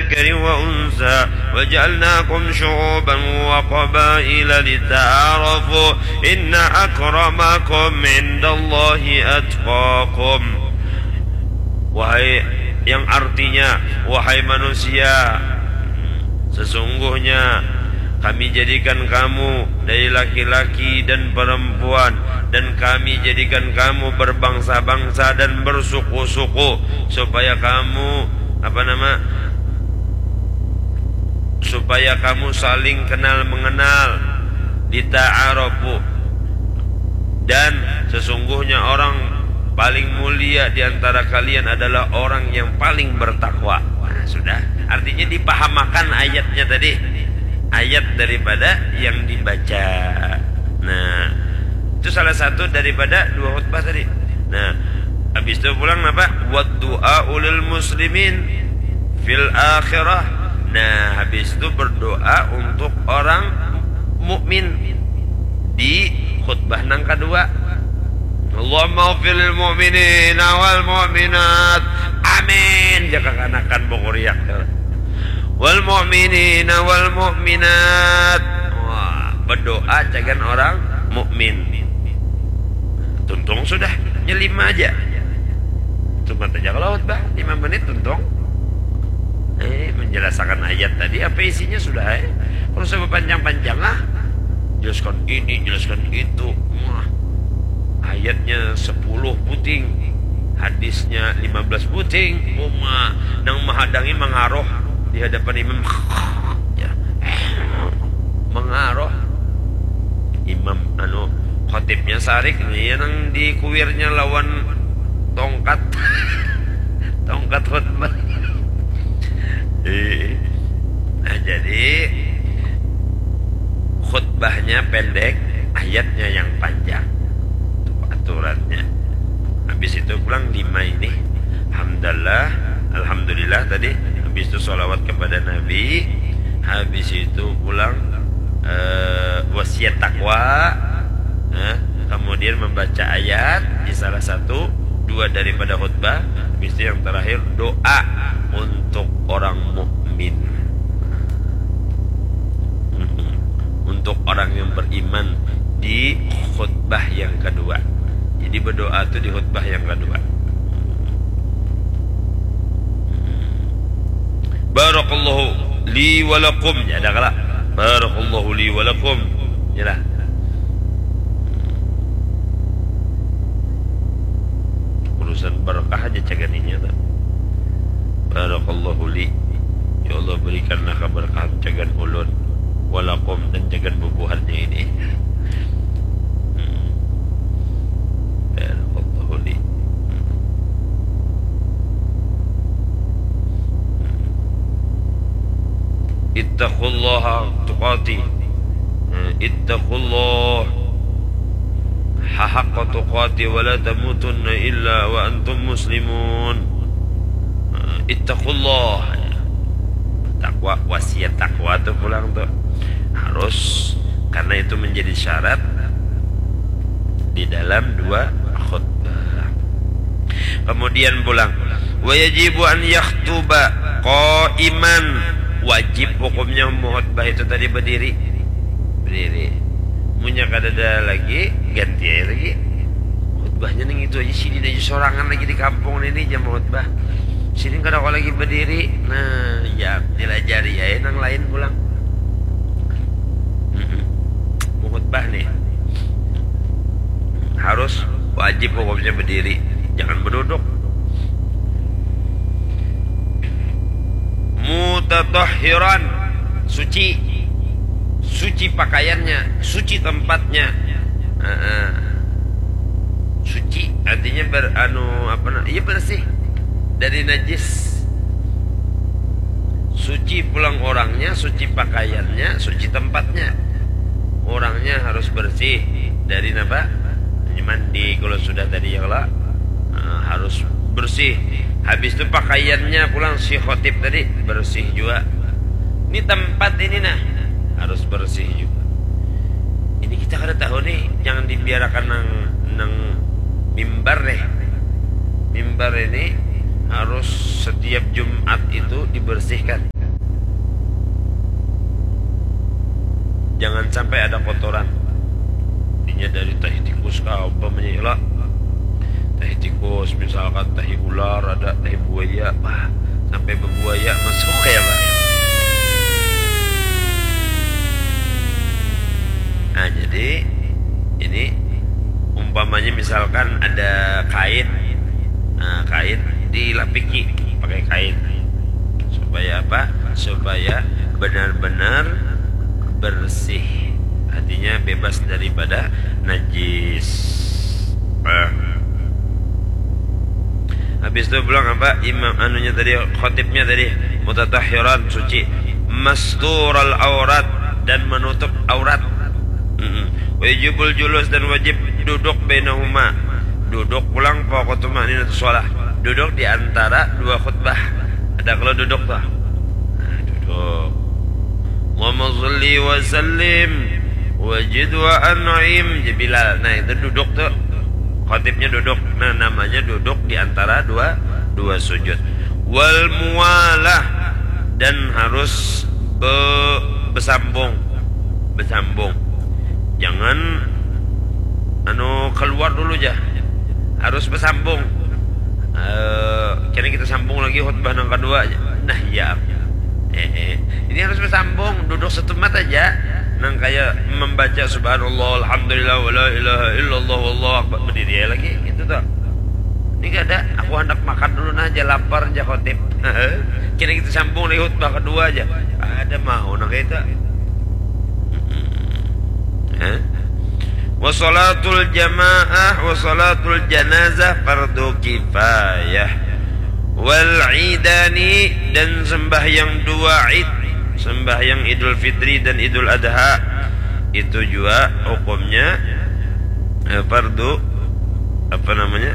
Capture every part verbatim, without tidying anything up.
ذكر وأنثى وجعلناكم شعوبا وقبائل لتعارفوا إن أكرمكم عند الله أتقاكم. Wahai, yang artinya, wahai manusia, sesungguhnya Kami jadikan kamu dari laki-laki dan perempuan, dan Kami jadikan kamu berbangsa-bangsa dan bersuku-suku, supaya kamu, apa nama, supaya kamu saling kenal mengenal, lita'arafu. Dan sesungguhnya orang paling mulia di antara kalian adalah orang yang paling bertakwa. Nah, sudah. Artinya dipahamakan ayatnya tadi. Ayat daripada yang dibaca. Nah, itu salah satu daripada dua khutbah tadi. Nah, habis itu pulang apa? Wa du'a ulil muslimin fil akhirah. Nah, habis itu berdoa untuk orang mukmin di khutbah nang kedua. Allahumma ghfir lil mu'minina wal mu'minat. Amin. Jaka kanakan bukuriak. Wal mu'minina wal mu'minat. Wah, berdoa cagan orang mukmin. Tuntung sudah, nya lima aja. Cuma aja kalau khutbah lima menit tuntung. Eh, menjelaskan ayat tadi, apa isinya sudah, eh. Kalau usah panjang-panjang lah. Jelaskan ini, jelaskan itu. Wah. Ayatnya sepuluh puting. Hadisnya lima belas puting. Uma, nang mahadangi mangaruh di hadapan imam. Ya. Mangaruh. Imam, anu, khotibnya sarik, ya, nang di kuirnya lawan tongkat. Tongkat khutbah. Eh. Nah, jadi khutbahnya pendek, ayatnya yang panjang. Itu aturannya. Habis itu pulang lima ini, hamdalah, alhamdulillah tadi. Habis itu sholawat kepada Nabi. Habis itu pulang, eh, wasiat takwa. Nah, kemudian membaca ayat di salah satu, dua daripada khutbah. Habis itu yang terakhir doa untuk orang mukmin. Mm-mm. Untuk orang yang beriman di khutbah yang kedua. Jadi berdoa tuh di khutbah yang kedua. Barakallahu li wa lakum. Ya, ada kala. Barakallahu li wa lakum. Yalah. Urusan berkah aja caganinya tuh. Barakallahu li. Ya Allah, berikanlah keberkahan cagan ulun. Wa lakum, dan cagan bubuhannya ini. Hmm. Barakallahu li. Ittaqullaha tuqatih. Eh, ittaqullah haqqa tuqatih wa la tamutunna illa wa antum muslimun. Eh, ittaqullah. Takwa, wasiat takwa tuh pulang tuh. Harus, karena itu menjadi syarat di dalam dua khutbah. Kemudian pulang, wa yajibu an yakhtuba qaiman. Wajib hukumnya mengkhutbah itu tadi berdiri. Berdiri. Munnya kadada lagi, ganti aja lagi. Khutbahnya ning itu aja, sidin aja sorangan lagi di kampung ini jam khutbah. Sidin kada kawa lagi berdiri. Nah, ya, dilajari aja nang lain pulang. Mm-mm. Mengkhutbah nih harus wajib hukumnya berdiri, jangan berduduk. Mutatahhiran, suci. Suci pakaiannya, suci tempatnya. Heeh. Suci artinya ber-, anu, apa na-, iya, bersih dari najis. Suci pulang orangnya, suci pakaiannya, suci tempatnya. Orangnya harus bersih dari napa? Mandi kalau sudah tadi ya kalo. Nah, harus bersih. Habis itu pakaiannya pulang si khotib tadi bersih juga. Ini tempat ini nah harus bersih juga. Ini kita kada tahu nih, jangan dibiarkan nang, nang mimbar deh. Mimbar ini harus setiap Jumat itu dibersihkan. sampai ada kotoran. Intinya dari tahi tikus kah, umpamanya lah. Tahi tikus, misalkan tahi ular, ada tahi buaya, bah, sampai bebuaya masuk ya, Pak. Nah, jadi ini umpamanya misalkan ada kain, nah, kain dilapiki pakai kain supaya apa? Supaya benar-benar bersih, artinya bebas daripada najis. Nah. Habis itu pulang apa, imam anunya tadi, khotibnya tadi, mutatahhiran, suci, mastural aurat, dan menutup aurat. Mm-mm. Wajibul julus, dan wajib duduk, bainahuma, duduk pulang, fauqa tuma'ninatu sholah, duduk di antara dua khutbah. Ada kalau duduk tuh, nah, duduk. Allahumma sholli wa sallim wajid wa an'im, ya Bilal. Nah, itu duduk tuh, khotibnya duduk. Nah, namanya duduk di antara dua dua sujud. Wal muwalah, dan harus be, besambung, besambung. Jangan anu keluar dulu, ja, harus besambung. Eh, kini kita sambung lagi khutbah nang kedua, ja. Nah, iya. Eh, eh. Ini harus bersambung, duduk setempat aja. Nang kayak membaca subhanallah, alhamdulillah, wala ilaha illallah, wallahu akbar, berdiri aja lagi, gitu tuh. Ini gak ada, aku hendak makan dulu nah, aja lapar, aja khotib. Kini kita sambung lagi khutbah kedua aja. Ada mau nang kayak itu. Hah? Wasalatul jamaah, wasalatul janazah fardu kifayah. Wal idani, dan sembahyang dua id, sembahyang Idul Fitri dan Idul Adha, itu juga hukumnya, eh, fardu, apa namanya,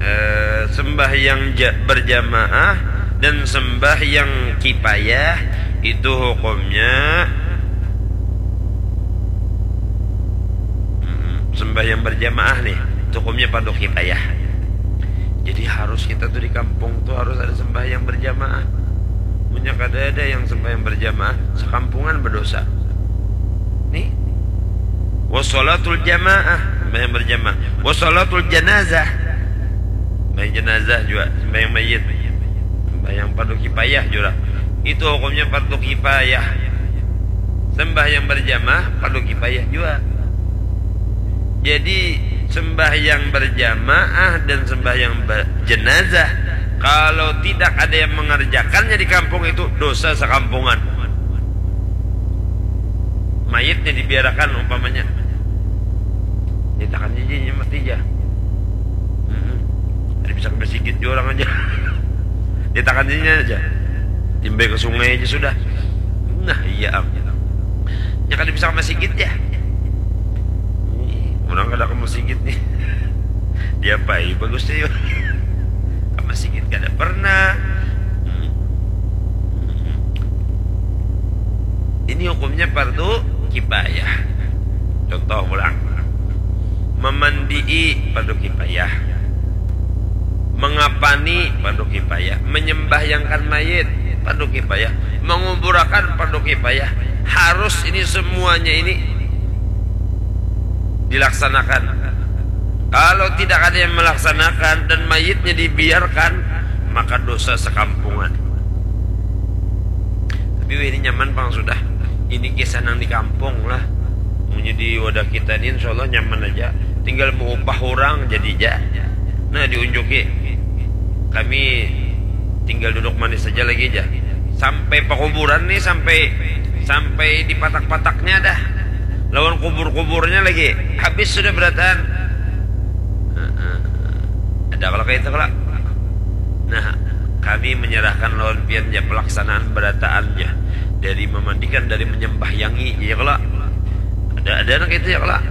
eh, sembahyang ja, berjamaah dan sembahyang kifayah, itu hukumnya, mm, sembahyang berjamaah nih, itu hukumnya fardu kifayah. Jadi harus kita tuh di kampung tuh harus ada sembahyang berjamaah. Punya kada ada yang sembahyang berjamaah, sekampungan berdosa. Nih, wasalatul jamaah, sembahyang berjamaah. Wasalatul janazah, sembahyang jenazah juga, sembahyang mayit, sembahyang fardu kifayah juga. Itu hukumnya fardu kifayah. Sembahyang berjamaah fardu kifayah juga. Jadi sembahyang berjamaah dan sembahyang ber, jenazah, kalau tidak ada yang mengerjakannya di kampung itu, dosa sekampungan. Mayitnya dibiarkan umpamanya, nyatakan aja mati aja. Mm-mm. Ada bisa ke masjid juga orang aja. Nyatakan aja, timbai ke sungai aja sudah. Nah, iya am. Nya kada bisa ke masjid ya. Ih, orang kada ke masjid nih. Diapai bagus tuh, yuk? Ke masjid kada pernah. Hmm. Ini hukumnya fardu kifayah. Contoh pulang. Memandii fardu kifayah. Mengapani fardu kifayah. Menyembahyangkan mayit fardu kifayah. Menguburakan fardu kifayah. Harus ini semuanya ini dilaksanakan. Kalau tidak ada yang melaksanakan dan mayitnya dibiarkan, maka dosa sekampungan. Tapi wih, ini nyaman pang sudah. Ini kisah nang di kampung lah. Munnya di wadah kita ini insya Allah nyaman aja. Tinggal mau upah orang jadi aja. Nah, diunjuki. Kami tinggal duduk manis saja lagi aja. Sampai pakuburan nih, sampai sampai di patak-pataknya dah. Lawan kubur-kuburnya lagi. Habis sudah berataan. Heeh. Ada kalau kayak itu kalau. Nah, kami menyerahkan lawan pian ya pelaksanaan berataan ya. Dari memandikan, dari menyembahyangi, ya kalau. Ada ada anak itu ya kalau.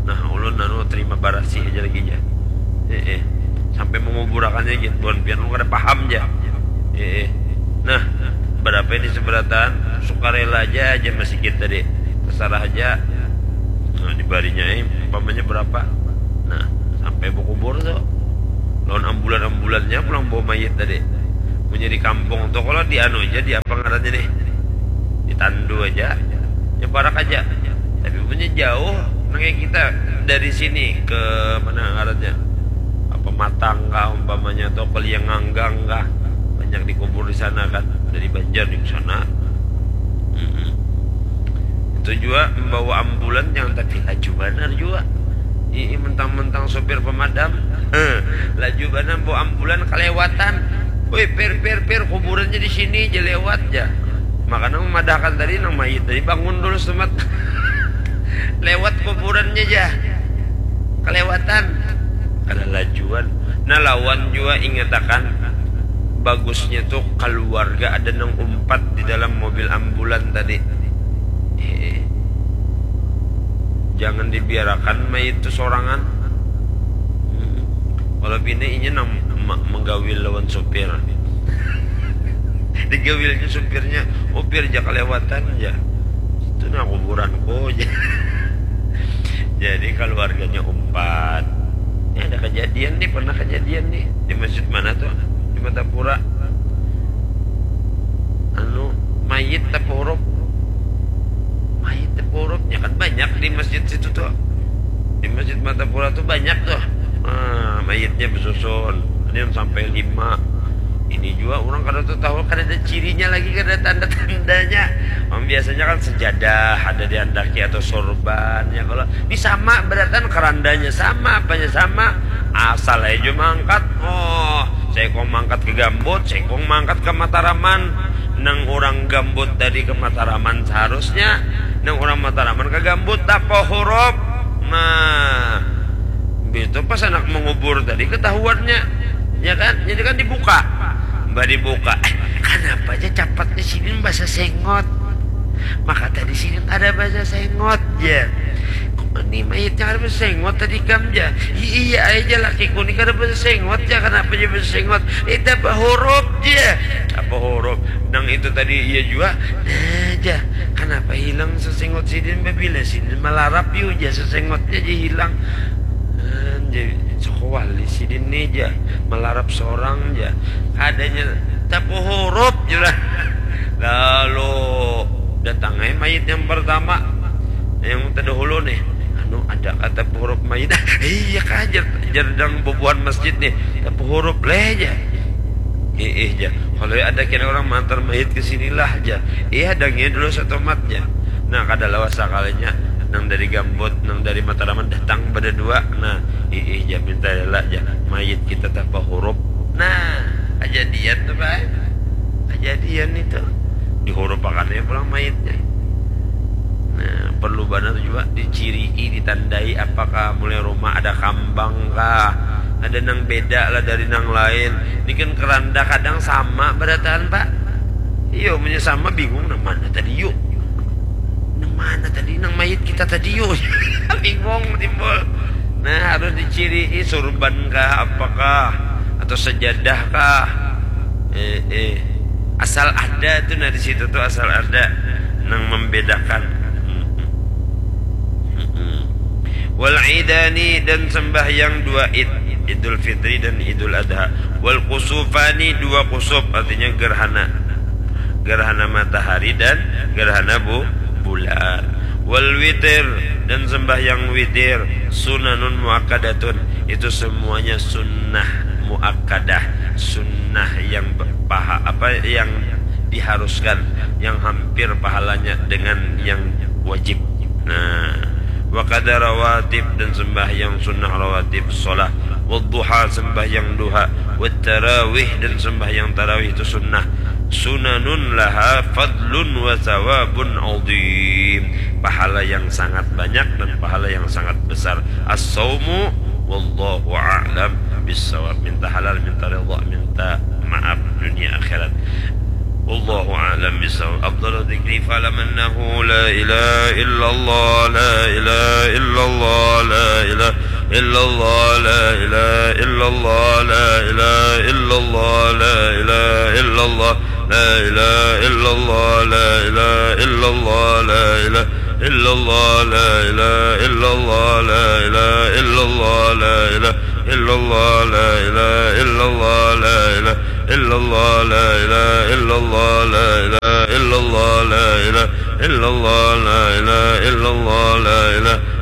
Nah, ulun anu terima barasih aja lagi ya. Eh, eh. Sampai menguburakannya gitu. Bukan pian ulun kada paham ya. Eh, eh. Nah, berapa ini seberataan? Sukarela aja aja masih kita deh. Terserah aja. Nah, dibarinya eh, umpamanya berapa? Nah, sampai berkubur tuh. Lawan ambulan-ambulannya pulang bawa mayat tadi. Punya di kampung tuh kalau di anu aja, di apa ngarannya nih? Ditandu aja. Ya, parak aja. Tapi punya jauh, nang kayak kita dari sini ke mana ngarannya? Apa Matang kah umpamanya, atau ke Liang Nganggang kah? Banyak dikubur di sana kan, dari Banjar di sana. Mm-mm. Itu juga membawa ambulan, jangan tapi laju banar juga. Ii, mentang-mentang sopir pemadam, laju banar bawa ambulan, kelewatan. Woi, pir, pir, pir, kuburannya di sini aja, lewat aja. Makanya memadahkan tadi, nang mayit tadi bangun dulu semat. Lewat kuburannya aja, kelewatan. Kada lajuan. Nah, lawan juga ingatakan, bagusnya tuh keluarga ada nang umpat di dalam mobil ambulan tadi. Eh, jangan dibiarakan mayit tuh sorangan. Hmm. Kalau bini inya nang ma-, menggawil lawan supir. Digawilnya supirnya, "Oh, pir, ja kelewatan ja. Itu nah kuburanku," ja. Jadi keluarganya umpat. Ini ada kejadian nih, pernah kejadian nih. Di masjid mana tuh? Di Martapura. Anu, mayit tapahurup. Mayit tapahurup, ya kan banyak di masjid situ tuh. Di Masjid Martapura tuh banyak tuh. Nah, mayitnya bersusun. Ada yang sampai lima. Ini juga orang kada tahu, kada ada cirinya lagi, kada ada tanda-tandanya. Orang biasanya kan sejadah ada diandaki atau sorban, ya. Kalau ini sama, beratan kerandanya sama, apanya sama. Asal aja mangkat. Oh, saikung mangkat ke Gambut, saikung mangkat ke Mataraman. Nang orang Gambut tadi ke Mataraman seharusnya, nang orang Mataraman ke Gambut, tapahurup. Nah, itu pas anak mengubur tadi ketahuannya, ya kan? Jadi kan dibuka. Mbah dibuka. "Eh, kenapa aja capatnya sini bahasa sengot? Maka tadi sini ada bahasa sengot, ya." "Ini mayitnya ada bahasa sengot tadi kam, ja?" "I-, iya aja, lakiku ini kada bahasa sengot, ja. Kenapa aja bahasa sengot?" "Eh, tapahurup, ja. Tapahurup. Nang itu tadi iya juga. Nah, ja. Kenapa hilang sesengot sidin, babila sidin malarap, yu, ja, sesengotnya aja hilang." Nah, jadi, "Sokowali sidin nih, ja. Malarap sorang, ja. Kadanya tapahurup," jurah. Lalu datang ai mayit yang pertama, yang terdahulu nih. "Anu, ada kah tapahurup mayit?" "Iya kah," jar, jar nang bubuhan masjid nih. "Tapahurup leh," ja. "Iih," ja. "Kalau ada kena orang mantar mayit ke sinilah," ja. "Iya, hadangnya dulu satomat," ja. Nah, kada lawas sakalinya, nang dari Gambut, nang dari Mataraman datang pada dua. Nah, "Iih," ja, "minta rela," ja, "mayit kita tapahurup." Nah, kejadian tuh, Pak. Kejadian itu. Dihurupakan aja pulang mayitnya. Nah, perlu banar juga dicirii, ditandai, apakah mulai rumah ada kambang kah, ada nang beda lah dari nang lain. Ini kan keranda kadang sama berataan, Pak. Iyo, munnya sama bingung, "Nang mana tadi, yuk? Nang mana tadi, nang mayit kita tadi, yuk?" Bingung timbul. Nah, harus dicirii, surban kah, apakah, atau sejadah kah? Eh, eh. Asal ada tuh, nah, di situ tuh asal ada nang membedakan. Mm-mm. Mm-mm. Wal idani, dan sembahyang dua id, Idul Fitri dan Idul Adha. Wal kusufani, dua kusuf, artinya gerhana. Gerhana matahari dan gerhana bu-, bulan. Wal witir, dan sembahyang witir. Sunanun muakkadatun, itu semuanya sunnah muakkadah, sunnah yang berpaha-, apa, yang diharuskan, yang hampir pahalanya dengan yang wajib. Nah, wa qada rawatib, dan sembahyang sunnah rawatib, sholat, wadduha, sembahyang duha, wat tarawih, dan sembahyang tarawih itu sunnah. Sunanun laha fadlun wa thawabun azim. Pahala yang sangat banyak dan pahala yang sangat besar. As-saumu wallahu a'lam bissawab. Minta halal, minta ridha, minta maaf dunia akhirat. Wallahu a'lam bissawab. Afdalu dzikri fa'lam annahu la ilaha illallah, la ilaha illallah, la ilaha illallah, la ilaha illallah, la ilaha illallah, la ilaha illallah, la ilaha illallah, la ilaha illallah, la ilaha illallah, la ilaha illallah, la ilaha illallah, la ilaha illallah, la ilaha illallah, la ilaha illallah, la ilaha illallah, la ilaha illallah, la ilaha illallah, la ilaha illallah, la ilaha